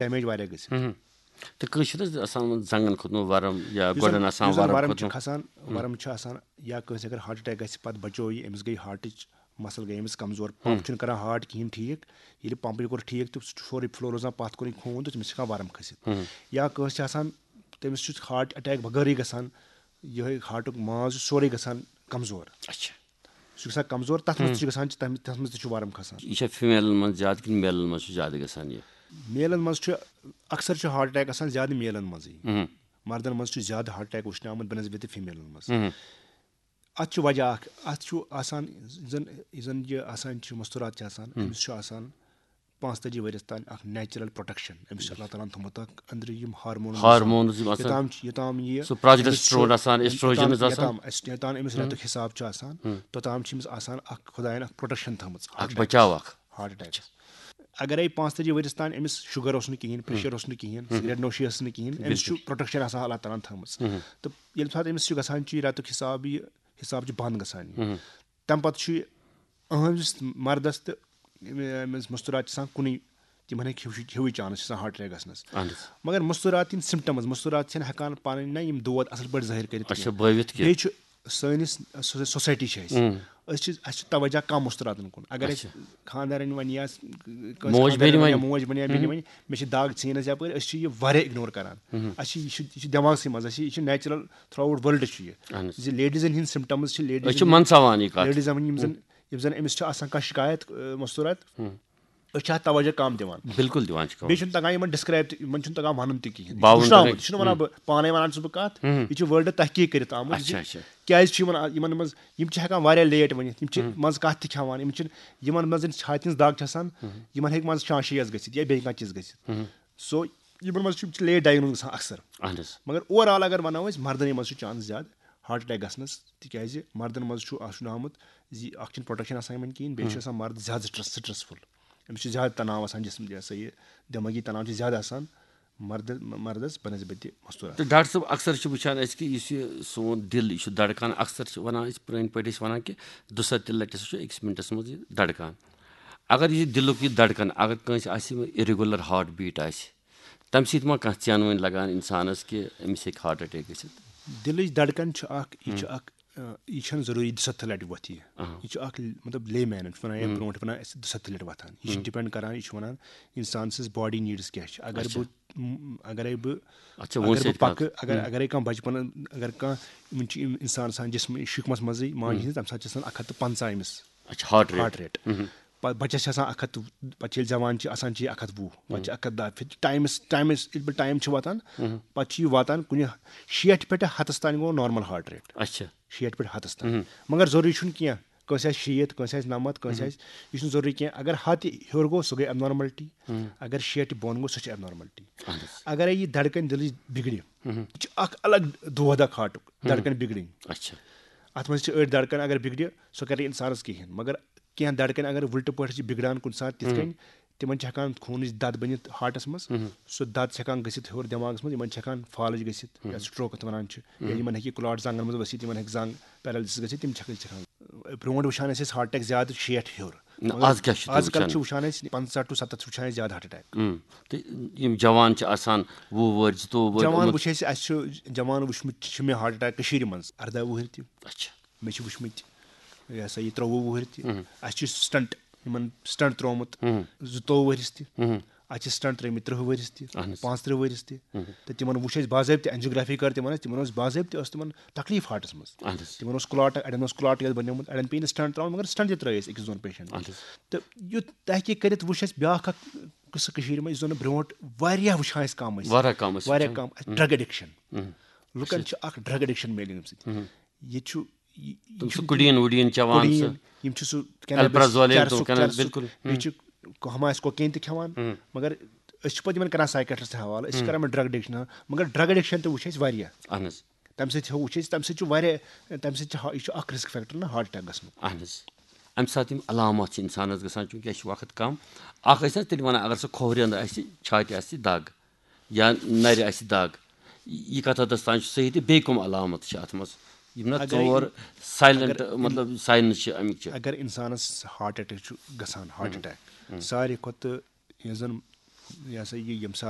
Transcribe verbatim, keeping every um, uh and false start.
Damage واریاہ گٔژھِتھ۔ تہٕ کٲنٛسہِ چھُنہٕ حظ آسان زنٛگن کھوٚتمُت ورم یا یُس زن- گۄڈن آسان یُس زن ورم ورم چھُ کھوٚتمُت؟ کھسان، ورم چھُ آسان، یا کٲنٛسہِ اگر ہارٹ اٹیک گژھِ، پتہٕ بچو یہِ، أمِس گٔے ہارٹٕچ مسل گٔے أمِس کمزور، پمپ چھُنہٕ کران ہارٹ کِہینۍ ٹھیٖک۔ ییٚلہِ پمپٕے کوٚر ٹھیٖک تہٕ سُہ چھُ سورُے فلورس منٛز پتھ کُنٕے خوٗن تہٕ تٔمِس چھُ ہٮ۪کان ورم کھٔسِتھ۔ یا کٲنٛسہِ چھُ آسان، تٔمِس چھُ ہارٹ اٹیک بغٲرٕے گژھان، یِہوٚے ہارٹُک ماز چھُ سورُے گژھان کمزور۔ اچھا۔ سُہ چھُ گژھان کمزور، تتھ منٛز تہِ چھُ گژھان، تتھ منٛز تہِ چھُ ورم کھسان۔ یہِ چھا فیمیلن منٛز زیادٕ کِنہٕ میلن منٛز چھُ زیادٕ گژھان یہِ؟ میلن منٛز چھُ اکثر چھُ ہارٹ اٹیک آسان زیادٕ میلن منٛزٕے۔ مردن منٛز چھُ زیادٕ ہارٹ اٹیک وٕچھنہٕ آمُت بنسبت فیمیلن منٛز۔ اتھ چھُ وجہ اکھ، اتھ چھُ آسان، یُس زن یُس زن یہِ آسان چھُ مستورات چھِ آسان، أمِس چھُ آسان پانٛژتٲجی ؤرِیس تام اکھ نیچرل پروٹیکشن، أمِس چھُ اللہ تعالیٰ ہن تھوٚمُت اکھ أنٛدرٕ یِم ہارمونز آسان۔ ہارمونز یِم آسان۔ یوٚتام چھِ، یوٚتام یہِ سُہ پروجیسٹرون آسان، یوٚتام- ایسٹروجنز آسان۔ یوٚتام أسۍ- یوٚتام أمِس رٮ۪تُک حساب چھُ آسان، توٚتام چھِ أمِس آسان اکھ خداین اکھ پروٹیکشن تھٲمٕژ۔ اکھ بچاو اکھ۔ Heart attacks. اگرے پانٛژتٲجی ؤرِیس تام أمِس شُگر اوس نہٕ کِہینۍ، پریشر اوس نہٕ کِہینۍ، سگریٹ نوشی ٲس نہٕ کِہینۍ، أمِس چھُ پروٹیکشن آسان اللہ تعالیٰ ہن تھٲمٕژ۔ تہٕ ییٚلہِ ساتہٕ أمِس چھُ گژھان چھُ یہِ رٮ۪تُک حساب، یہِ حساب چھُ بنٛد گژھان یہِ۔ تَمہِ پتہٕ چھُ یہِ أہنٛدِس مردس تہٕ أمِس مستورات چھِ آسان کُنُے، تِمن ہیٚکہِ ہیوٗ ہیوٗ چانس چھِ آسان ہارٹ اٹیک گژھنس۔ اہن حظ۔ مگر مستورات یِم سمٹمز، مستورات چھِنہٕ ہٮ۪کان پنٕنۍ نہ یِم دود اصل پٲٹھۍ ظٲہر کٔرِتھ اچھا، کینٛہہ۔ بٲوِتھ کینٛہہ۔ بیٚیہِ چھُ سٲنِس سو- سوسایٹی چھِ اَسہِ، أسۍ چھِ اَسہِ چھُ توجہ کم مستوراتن کُن۔ اگر اَسہِ خاندارن ونہِ یا س- کٲنٛسہِ موج خاندارن بیٚنہِ ونہِ یا ونہِ۔ موج بنہِ یا بیٚنہِ ونہِ، مےٚ چھِ دگ ژھیٚنس یپٲرۍ، أسۍ چھِ یہِ واریاہ اگنور کران۔ اَسہِ چھِ یہِ چھُ یہِ چھُ دٮ۪ماغسٕے منٛز، اَسہِ چھِ یہِ چھُ نیچرل تھرٛوٗ آوُٹ ورلڈ چھُ یہِ۔ اہن حظ۔ زِ لیڈیزن ہِنٛدۍ سمٹمز چھِ، أسۍ چھِ منٛدٕچھاوان یہِ کتھ۔ لیڈیزن یِم زن یِم زن أمِس چھِ آسان کانٛہہ شکایت، آ، مستورات، أسۍ چھِ اتھ توجہ کم دِوان۔ بالکل دِوان چھِ کم۔ بیٚیہِ چھُنہٕ تگان یِمن ڈسکرایب تہِ، یِمن چھُنہٕ تگان ونُن تہِ کِہینۍ۔ باوُن وٕچھناوُن تگان۔ تہِ چھُنہٕ ونان بہٕ پانے ونان چھُس بہٕ کتھ، یہِ چھُ ورلڈ تحقیق کٔرِتھ آمُت زِ اچھا، اچھا۔ کیازِ چھُ یِمن یِمن منٛز یِم چھِ ہٮ۪کان واریاہ لیٹ ؤنِتھ، یِم چھِ منٛز کتھ تہِ کھٮ۪وان، یِم چھِنہٕ یِمن منٛز ییٚلہِ چھاتہِ ہٕنٛز دگ چھِ آسان، یِمن ہیٚکہِ منٛزٕ شانشی یس گٔژھِتھ یا بیٚیہِ کانٛہہ چیٖز گٔژھِتھ۔ سو یِمن منٛز چھُ یِم چھِ لیٹ ڈایگنوز گژھان اکثر۔ اہن حظ۔ مگر اوور آل اگر ونو أسۍ، مردن منٛز چھُ چانس زیادٕ ہارٹ اٹیک گژھنس، تِکیازِ مردن منٛز چھُ آسُن آمُت زِ اکھ چھُنہٕ پروٹیکشن آسان یِمن کِہینۍ، بیٚیہِ چھُ آسان مرد زیادٕ سٹریس سٹریسفُل، أمِس چھُ زیادٕ تناو آسان جسم، یہِ ہسا یہِ دٮ۪مٲغی تناو چھُ زیادٕ آسان مردس مردس بنسبتِ مستورات۔ تہٕ ڈاکٹر صٲب، اکثر چھِ وٕچھان أسۍ کہِ یُس یہِ سون دِل، یہِ چھُ دڑکان، اکثر چھِ ونان أسۍ، پرٲنۍ پٲٹھۍ ٲسۍ ونان کہِ دُسَتتھ لٹہِ ہسا چھُ أکِس مِنٹَس منٛز یہِ دڑکان۔ اگر یہِ دِلُک یہِ دڑکان، اگر کٲنٛسہِ آسہِ اِریگولر ہارٹ بیٖٹ آسہِ، تَمہِ سۭتۍ ما کانٛہہ ژینوٕنۍ لگان اِنسانَس کہِ أمِس ہیٚکہِ ہارٹ اٹیک گٔژھِتھ؟ دِلٕچ دڑکن چھُ اکھ، یہِ چھُ اکھ، آ، یہِ چھَنہٕ ضروٗری دُسَتتھ لٹہِ وۄتھِ یہِ۔ یہِ چھُ اکھ، مطلب، لے مینن چھُ ونان یا برونٛٹھ ونان اَسہِ دُسَتتھ لٹہِ وۄتھان۔ یہِ چھُ ڈِپینڈ کران، یہِ چھُ ونان اِنسان سٕنٛز باڈی نیٖڈٕس کیٛاہ چھِ۔ اگر بہٕ م- اگرے بہٕ اچھا، وۄنۍ اگر سۭتۍ بہٕ پکہٕ، اگر اگرے کانٛہہ بچپن، اگر کانٛہہ یِمن چھِ یِم انسان آسان جسمہٕ شِکمس منٛزٕے ماجہِ ہٕنٛز، تمہِ ساتہٕ چھِ آسان اکھ ہتھ تہٕ پنٛژاہ أمِس اچھا، ہارٹ ریٹ۔ Heart rate. پتہٕ بچس چھِ آسان اکھ ہتھ تہٕ، پتہٕ چھِ ییٚلہِ زٮ۪وان چھِ آسان چھِ یہِ اکھ ہتھ وُہ، پتہٕ چھِ اکھ ہتھ دَہ۔ پھر ٹایمس ٹایمس ییٚلہِ پتہٕ ٹایم چھُ واتان، پتہٕ چھُ یہِ واتان کُنہِ شیٹھ پٮ۪ٹھ ہتس تام گوٚو نارمل ہارٹ ریٹ۔ اچھا۔ شیٹھ پٮ۪ٹھ ہتس تام۔ مگر ضروٗری چھُنہٕ کینٛہہ، کٲنٛسہِ آسہِ شیٖتھ، کٲنٛسہِ آسہِ نَمَتھ، کٲنٛسہِ آسہِ، یہِ چھُنہٕ ضروٗری کینٛہہ۔ اگر ہتھ تہِ ہیوٚر گوٚو، سُہ گٔے ابنارملٹی۔ اگر شیٹھ تہِ بۄن گوٚو، سُہ چھِ ابنارملٹی۔ اگرے یہِ دھڑکن دِلٕچ بِگڑِ، یہِ چھُ اکھ الگ دود اکھ ہارٹُک، دھڑکن بِگڑٕنۍ۔ اچھا۔ اتھ منٛز چھِ أڑۍ دھڑکن اگر بِگڑِ، سۄ کرِ انسانس کِہینۍ، مگر کینٛہہ دھڑکن اگر وٕلٹہٕ پٲٹھۍ چھِ بِگڑان کُنہِ ساتہٕ تِتھ کٔنۍ، تِمن چھِ ہٮ۪کان خوٗنٕچ دَد بٔنِتھ ہارٹَس منٛز۔ سُہ دَد چھِ ہٮ۪کان گٔژھِتھ ہیوٚر دٮ۪ماغَس منٛز، یِمَن چھِ ہٮ۪کان فالٕج گٔژھِتھ، یَتھ سٹروک اَتھ وَنان چھِ، یا یِمَن ہٮ۪کہِ کٕلاٹ زنٛگَن منٛز ؤسِتھ، یِمَن ہٮ۪کہِ زنٛگ پیرَلسِس گٔژھِتھ، تِم چھِ ہٮ۪کان، چھِ ہٮ۪کان۔ برونٛٹھ وٕچھان ٲسۍ أسۍ ہارٹ اَٹیک زیادٕ شیٹھ ہیوٚر۔ نہ، مگر آز کیٛاہ چھِ تُہۍ آز کَل وٕچھان؟ چھِ وٕچھان أسۍ پنٛژاہ to ستتھ چھِ وٕچھان أسۍ زیادٕ ہارٹ اَٹیک۔ اۭں۔ تہٕ یِم جوان چھِ آسان، وُہ وُہٕرۍ، زٕتووُہ وُہٕرۍ، جوان یِمَن وٕچھ اَسہِ، اَسہِ چھُ جوان وٕچھمُت چھِ مےٚ ہارٹ اَٹیک کٔشیٖرِ منٛز اَرداہ وُہٕرۍ تہِ۔ اچھا۔ مےٚ چھِ وٕچھمٕتۍ، یہِ ہسا یہِ، ترٛۆوُہ وُہٕرۍ تہِ۔ اَسہِ چھُ سٹنٹ، یِمن سٹنٹ ترٛوومُت زٕتووُہ ؤرِس تہِ۔ اَسہِ چھِ سٹنٹ ترٛٲومٕتۍ ترٛہ ؤرِس تہِ، اہن حظ۔ پانٛژترٕٛہ ؤرِس تہِ۔ تہٕ تِمن وٕچھ اَسہِ باضٲبطہٕ، اینجیوگرافی کٔر تِمن اَسہِ، تِمن اوس باضٲبطہٕ، ٲس تِمن تکلیٖف ہارٹس منٛز۔ اہن حظ۔ تِمن اوس کلاٹ، اَڑٮ۪ن اوس کلاٹ یَتھ بنیومُت، اَڑٮ۪ن پیٚیہِ نہٕ سٹنٹ ترٛاوُن، مگر سٹنٹ تہِ ترٛٲے اَسہِ أکِس دۄن پیشنٹن۔ اہن حظ۔ تہٕ یُتھ تحقیٖق کٔرِتھ وٕچھ اَسہِ بیٛاکھ اکھ قصہٕ کٔشیٖرِ منٛز، یُس زن نہٕ برونٛٹھ واریاہ وٕچھان اَسہِ کم ٲسۍ۔ واریاہ کم ٲسۍ واریاہ وٕچھان۔ کم، ڈرگ ایڈکشن۔ لُکن چھِ اکھ ڈرگ ایڈکشن میلہِ اَمہِ سۭتۍ۔ ییٚتہِ چھُ یہِ- یہِ تِم چھِ چھُنہٕ کُڈیٖن وُڈیٖن چٮ۪وان، کُڈیٖن، سُہ یِم چھِ سُہ الپرازول، چرسُک، تِم کَران، چرسُک، بِلکُل۔ بیٚیہِ چھِ ہُم آسہِ کوکین تہِ کھٮ۪وان، مگر أسۍ چھِ پتہٕ یِمن کران سایکیٹرسٹ حوالہٕ، أسۍ چھِ کران یِمن ڈرگ ایڈکشن، مگر ڈرگ ایڈکشن تہِ وٕچھ اَسہِ واریاہ۔ اہن حظ۔ تَمہِ سۭتۍ ہیوٚو، وٕچھ اَسہِ، تَمہِ سۭتۍ چھُ واریاہ، تَمہِ سۭتۍ چھِ ہا-، یہِ چھُ اکھ رسک فیکٹر نا ہارٹ اٹیک گژھنُک۔ اہن حظ۔ اَمہِ ساتہٕ یِم علامات چھِ اِنسانَس گژھان، چوٗنٛکہِ اَسہِ چھُ وقت کم، اکھ ٲسۍ نہ تیٚلہِ وَنان، اگر سُہ کھوورٮ۪ن آسہِ، چھاتہِ آسہِ دگ یا نَرِ آسہِ دگ، یہِ کَتھ حدس تام چھُ صحیح، تہٕ بیٚیہِ کٕم علامت چھِ اَتھ منٛز؟ یِم نہ اگرے ژور سایلنٹ، اگر مطلب، ساینس چھِ اَمِکۍ چھِ۔ اگر انسانس ہارٹ اٹیک چھُ گژھان، ہارٹ اٹیک، ساروی کھۄتہٕ یُس زن یہِ ہسا یہِ ییٚمہِ ساتہٕ